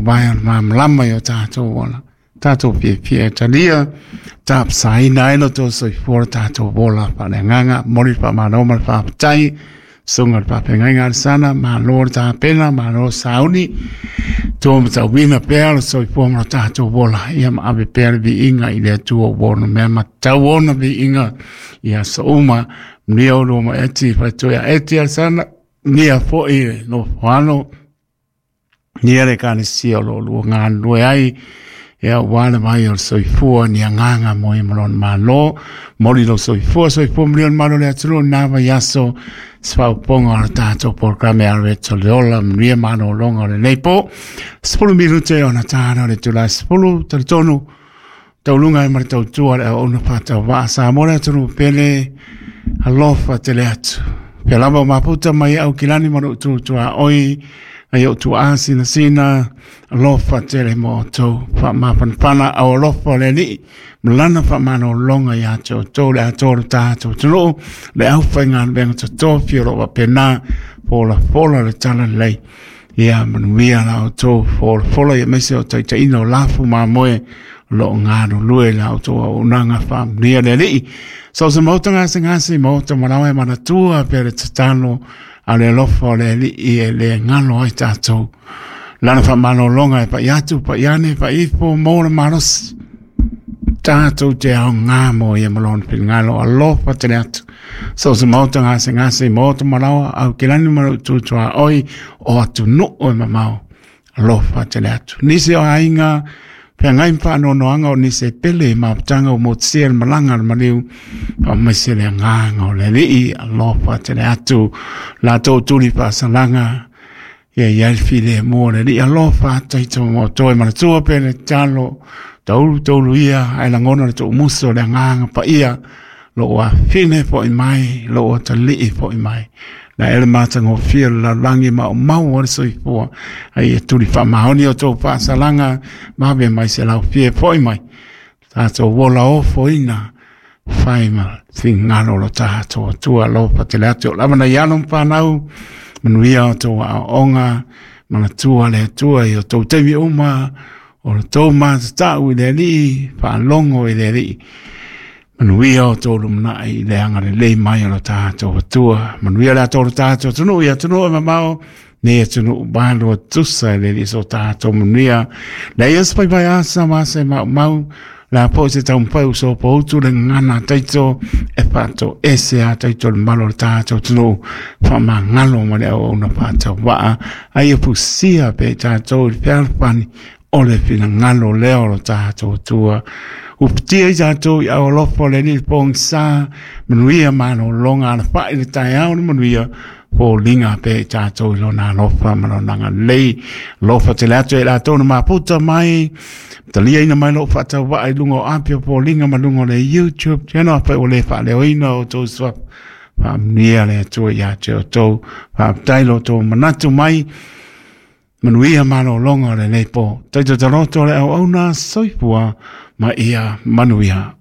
faavae o le malamalama i o tatou ola. Tatou fiafia e talia, tapasaina ai lo outou soifua lo tatou ola faaleagaga. Momoli le faamalo ma le faafetai, susuga i le faafeagaiga a le Sana, malo le tapena, malo le sauni, tua matauina pea le soifua ma lo tatou ola, ia ma ave pea le viiga i le Atua ua ona mea ma tatau ona viiga i aso uma. Manuia oulua ma Eti, faitoea Eti Alesana, manuia foi le nofoano, manuia le ekalesia o lo o lua galulue ai, ia aua le vai o le soifua ni agaga mo ia ma lona Malo. Moli lou soifua, soifua manuia le malu o le atunuu i lena vaiaso, se faaopoopoga o le tatou polokalame Aloeto le Ola, manuia malologa o lenei po. 10 minute ona ta o le itula e 10, talitonu tauluga ai ma le tautua le auauna faatauvaa Samoa le atunuu pele, alofa tele atu. Pea lava o mafuta mai au kilani ma lou tutuaoi, ai ou tuaa sinasina, alofa tele mo outou, faamafanafana au alofa o le Alii, ma lana faamalologa ia te outou le atoa o le tatou atunuu, le aufaigaluega totofi o lo o faapena folafola le talalelei. Ia manuia la outou folafola, aemaise o taitaiina o lafu mamoe o lo o galulue i la outou auaunaga faamanuia le Alii. So se maota gasegase, maota malaoa e manatua pea le tatalo a le alofa o le Alii e le galo ai tatou. Lana faamalologa e pai atu, pai ane, pai ifo mo le malosi. Tatou te aoga mo ia ma lona finagalo alofa tele atu. So se maota gasegase, maota malaoa, au kilani ma lou tutuaoi o atunuu e mamao. Alofa tele atu. Nisi o aiga, feagai ma faanoanoaga o nisi e pele i mafutaga ua motusia le malaga a le maliu, faamaise le agaga o le Alii, alofa tele atu. Latou tuli faasalaga, ia i ai le filemu o le Alii, alofa taito mo toe manatua pe le tatalo, taulu taulu ia, ae lagona le tuumuso o le agaga paia, lou afine foi mai, lou atalii foi mai. Na e le matagofie o le lalolagi maumau o le soifua, ai e tuli faamaoni o tou faasalaga, vave mai se laufie foi mai. Tatou ola ofoina, fai ma finagalo o lo tatou Atua, alofa tele atu. O lava nai alo ma fanau, manuia o tou aoaoga, manatua le Atua i o tou taimi uma, o le tou matatau i le Alii, faalogo i le Alii. Manuia o tou lumanai i le agalelei mai o lo tatou Atua. Manuia le atoa o lo tatou atunuu i atunuu e mamao, nei atunuu malua tusa e le Alii so tatou manuia. Lea ia se paepae asa ma asa e maumau, la po se taumafai o sopoutu le gagana a taito e faatoese a taito le malo o le tatou atunuu, faamagalo ma le auauna faatauvaa, a ia fusia pea i tatou i le fealofani o le finagalo lea o lo tatou Atua. Uputia i tatou i au alofa o le Alii pogisa, manuia malologa alafai le taeao le manuia, foliga pea i tatou i lona alofa ma lona agalelei. Alofa tele atu e latou na mafuta mai, taliaina mai lou faatauvaa i luga o api o foliga ma luga o le YouTube channel, afai ua le faaleoina o outou suafa, faamanuia le Atua ia te outou. Faafetai lo outou manatu mai, manuia malologa o lenei po. Taito taloto le auauna, soifua ma ia manuia.